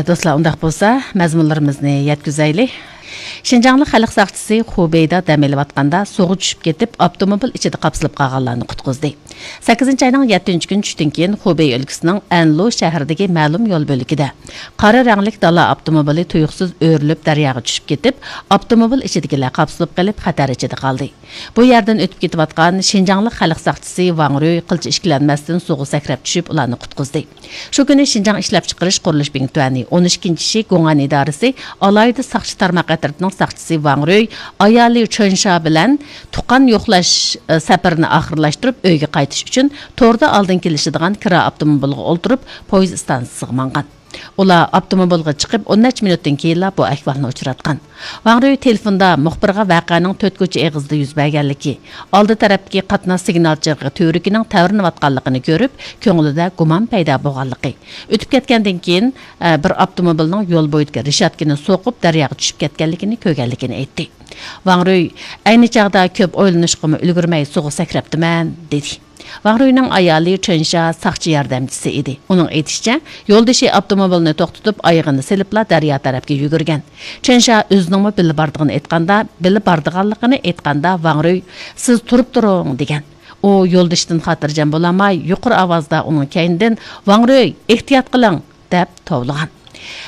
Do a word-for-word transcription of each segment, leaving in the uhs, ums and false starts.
دوستلار، ئۇنداق بولسا، مەزمۇنلىرىمىزنى يەتكۈزەيلى. شىنجاڭلىق خەلق ساقچىسى خۇبېيدا دەم ئېلىۋاتقاندا سۇغا چۈشۈپ كېتىپ، ئاپتوموبىل ئىچىدە قاپسىلىپ قالغانلارنى قۇتقۇزدى. سەككىزىنچى ئاينىڭ يەتتىنچى كۈنى چۈشتىن كېيىن خۇبېي ئۆلكىسىنىڭ ئەنلۇ شەھىرىدىكى مەلۇم يول بۆلىكىدە قارا رەڭلىك دالا ئاپتوموبىلى تۇيۇقسىز ئۆرۈلۈپ دەرياغا چۈشۈپ كېتىپ، ئاپتوموبىل ئىچىدىكىلەر قاپسىلىپ قېلىپ خەتەر ئىچىدە قالدى. بۇ يەردىن ئۆتۈپ كېتىۋاتقان شىنجاڭلىق خەلق ساقچىسى ۋاڭ رۆي قىلچە ئىككىلەنمەستىن سۇغا سەكرەپ چۈشۈپ، ئۇلارنى قۇتقۇزدى. شۇ كۈنى شىنجاڭ ئىشلەپچىقىرىش قۇرۇلۇش بىڭتۈەنى ئون ئىككىنچى شى گوڭئەن ئىدارىسى ئالاھىدە ساقچى تارماق ئەترىتىنىڭ ساقچىسى ۋاڭ رۆي ئايالى چۆن شا بىلەن تۇغقان يوقلاش، ئە، سەپىرىنى ئاخىرلاشتۇرۇپ، ئۆيگە قايتىش ئۈچۈن توردا ئالدىن كېلىشىدىغان كىرا ئاپتوموبىلغا ئولتۇرۇپ، پويىز ئىستانسىسىغا ماڭغان. ئۇلار ئاپتوموبىلغا چىقىپ، ئون نەچچە مىنۇتتىن كېيىنلا بۇ ئەھۋالنى ئۇچراتقان. ۋاڭ رۆي تېلېفوندا مۇخبىرغا ۋەقەنىڭ تۆت كوچا ئېغىزىدا يۈز بەرگەنلىكى، ئالدى تەرەپتىكى قاتناش سىگنال چىرىغى تۈۋرۈكىنىڭ تەۋرىنىۋاتقانلىقىنى كۆرۈپ، كۆڭلىدە گۇمان پەيدا بولغانلىقى، ئۆتۈپ كەتكەندىن كېيىن، ئە، بىر ئاپتوموبىلنىڭ يول بويىدىكى رېشاتكىنى سوقۇپ، دەرياغا چۈشۈپ كەتكەنلىكىنى كۆرگەنلىكىنى ئېيتتى. ۋاڭ رۆي، ئەينى چاغدا كۆپ ئويلىنىشقىمۇ ئۈلگۈرمەي سۇغا سەكرەپتىمەن، دېدى. ۋاڭ رۆينىڭ ئايالى چۆن شا ساقچى ياردەمچىسى ئىدى. ئۇنىڭ ئېيتىشىچە، يولدىشى ئاپتوموبىلنى توختىتىپ، ئايىغىنى سېلىپلا دەريا تەرەپكە يۈگۈرگەن. چۆن شا ئۆزىنىڭمۇ بىللە بارىدىغىنى ئېيتقاندا، بىللە بارىدىغانلىقىنى ئېيتقاندا، ۋاڭ رۆي، سىز تۇرۇپ تۇرۇڭ، دېگەن. ئۇ يولدىشىدىن خاتىرجەم بولالماي، يۇقىرى ئاۋازدا ئۇنىڭ كەينىدىن، ۋاڭ رۆي، ئېھتىيات قىلىڭ، دەپ توۋلىغان.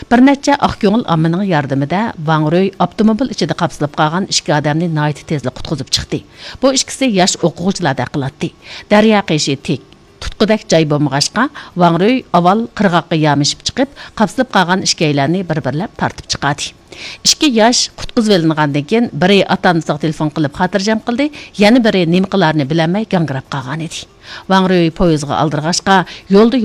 بىر نەچچە ئاق كۆڭۈل ئاممىنىڭ ياردىمىدە ۋاڭ رۆي ئاپتوموبىل ئىچىدە قاپسىلىپ قالغان ئىككى ئادەمنى ناھايىتى تېزلا قۇتقۇزۇپ چىقتى. بۇ ئىككىسى ياش ئوقۇغۇچىلاردەك قىلاتتى. دەريا قېشى تىك، تۇتقۇدەك جاي بولمىغاچقا، ۋاڭ رۆي ئاۋۋال قىرغاققا يامىشىپ چىقىپ، قاپسىلىپ قالغان ئىككىيلەننى بىر-بىرلەپ تارتىپ چىقاردى. ئىككى ياش قۇتقۇزۇۋېلىنغاندىن كېيىن، بىرى ئاتا-ئانىسىغا تېلېفون قىلىپ خاتىرجەم قىلدى، يەنە بىرى نېمە قىلارىنى بىلەلمەي گاڭگىراپ قالغانىدى. ۋاڭ رۆي پويىزغا ئالدىرىغاچقا، يولدا